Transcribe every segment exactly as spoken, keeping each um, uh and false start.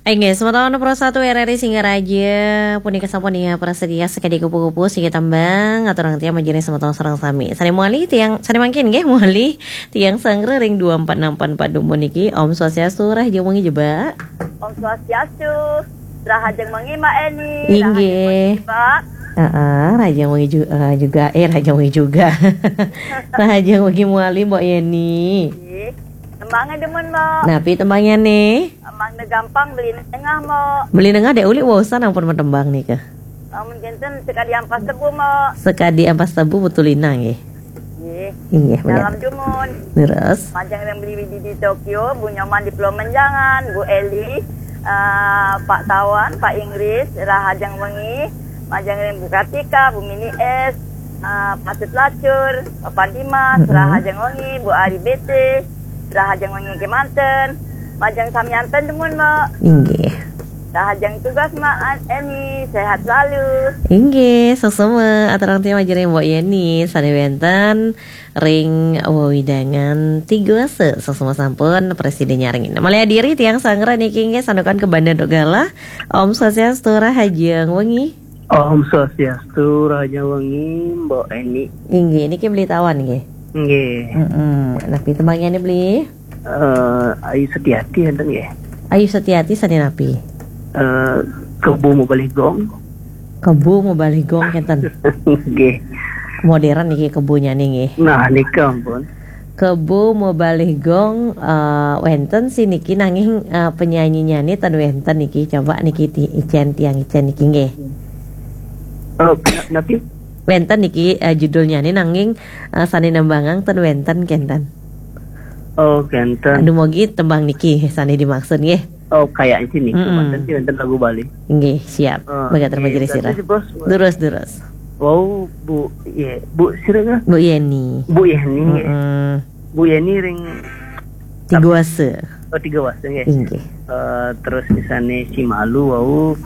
Inggih, semeton Pro satu R R I Singaraja, punika sampun ya prasetya sekadi kupu-kupu siki tembang, aturang tiang majeng ring semeton sareng sami. Sane mawali tiang, sane mangkin nggih mawali tiang sanggra ring dua empat enam empat empat dumun niki. Om Swastiastu, rahajeng wengi Jebak. Om Swastiastu, rahajeng wengi Mbak Eni, Inggih. Rahajeng wengi Jebak. Heeh, rahajeng wengi ju-, eh, juga, eh, rahajeng wengi juga. Rahajeng wengi mawali Mbok Yeni. Nggih. Tembange demen, Mbok. Napi tembange nih? Mangda gampang beli nengah, Mbok. Beli nengah dek uli waosan ampun matembang nika. Lamun kinten sekadi ampas tebu, Mbok. Sekadi ampas tebu betul inang nggih. Nggih. Inggih, bener. Dalam dumun. Leres. Majeng ring Beli Widi di Tokyo, Bu Nyoman di Pulau Menjangan, Bu Eli, eh, Pak Tawan, Pak Inggris, rahajeng wengi, majeng ring Bu Kartika, Bu Mini S, eh, Patut Lacur, Papa Dimas, Mm-mm. Rahajeng wengi, Bu Ari B T, rahajeng wengi kemanten, majeng samian ten dumun, Mbok. Inggih. Rahajeng tugas, Mbok Eni, sehat selalu. Inggih, suksma, aturang tiang majeng ring Mbok Yeni, sane wenten ring wewidangan Tigawasa, suksma sampun prasida nyarengin. Malih adiri tiang sanggra niki nggih santukan kabanda antuk galah. Om Swastiastu, rahajeng wengi. Om Swastiastu, rahajeng wengi, Mbok Eni. Inggih, niki Beli Tawan nggih. Nggih. Mm-mm. Napi tembange beli? Eh, Ayu Setiati enten nggih. Ayu Setiati sane napi? Eh, Kebo Mabalih Gong. Kebo Mabalih Gong kenten. Nggih. Modern niki kebonyane nggih. Nah, nika ampun. Kebo Mabalih Gong, eh, wenten sih niki nanging, eh, penyanyinyane ten wenten niki. Coba niki ti-, icen tiang icen niki nggih. Oh, na-, napi? Wenten niki, eh, judulnyane nanging, eh, sane nembangang ten wenten kenten. Oh, kenten. Aduh, mogi tembang niki sane dimaksud nggih. Oh, kayaknya sih nih, Mm-mm. Wenten sih wenten lagu Bali. Nggih, siap. Oh, Baga terima nggih, kasih, berarti Sirah. Si bos. Durus, durus. Wow, Bu, iya, Bu sira kan? Bu Yeni. Bu Yeni, nggih. Mm-mm. Bu Yeni ring Tigawasa. Oh, Tigawasa, nggih. Inggih. Eh, terus misalnya si Malu, wau,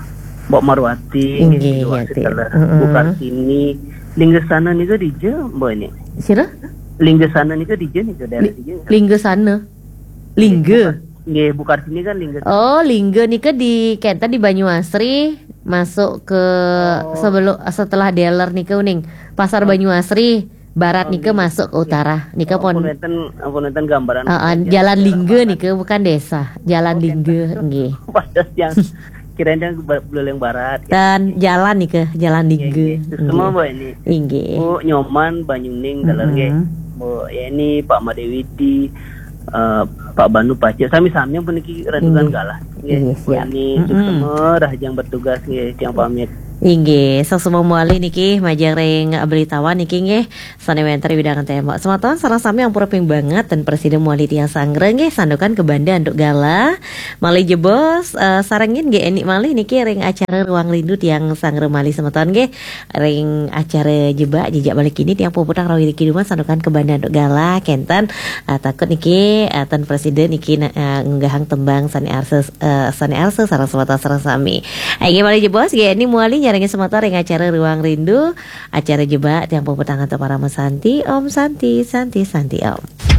Mbok Marwati, Inggih, Tigawasa Yati. Telah. Mm-mm. Bu Kartini, Linggasana nika dija, Mbok ini. Sira? Linggasana nika dija nika, daerah Li-, dija. Linggasana. Lingga. Nggih, Bu Kartini kan Lingga. Oh, Lingga nika di kenten di Banyuasri, masuk ke Oh. sebelum, setelah dealer nika uning. Pasar Oh. Banyuasri, barat Oh, nika nggih. Masuk ke utara. Nika Ampun pun wenten, ampun wenten gambaran. Heeh, Jalan Lingga nika bukan desa. Jalan Oh, Lingga, kenten. Nggih. Pada yang kirain yang ba-, Buleleng Barat, ya. Dan jalan nika, Jalan Lingga. Nggih, nggih. Semua, Mbok, ini. Inggih. Bu Nyoman, Banyuning, Galer, nggih. Mm-mm. Bu Yeni, Pak Madewidi, eh, Pak Banu Pace, sami-sami yang puniki renungan Inggih. Galah. Nggih, Inggih, Bu siap. Yeni, Mm-mm. suksma, rahajeng bertugas, nggih, tiang pamit. Inggih, suksma mawali niki, majeng ring Beli Tawan niki, nggih. Sane wenten ring wewidangan tembok. Semeton sareng sami ampura ping banget ten prasida mawali tiang sanggra nggih santukan kabanda antuk galah. Malih jebos, eh, sarengin nggih enik malih niki ring acara Ruang Rindu tiang sanggra malih semeton nggih. Ring acara Jebak Jejak Bali Kini tiang puputang rawi niki dumun santukan kabanda antuk galah kenten, eh, takut niki, eh, ten prasida niki na-, eh, ngunggahang tembang sane arsa, eh, sane arsa sareng semeton sareng sami. Inggih malih jebos nggih enik mawali nyarengin semeton ring acara Ruang Rindu. Acara Jebak tiang puputang antuk Parama Santi. Om Santi, Santi, Santi Om.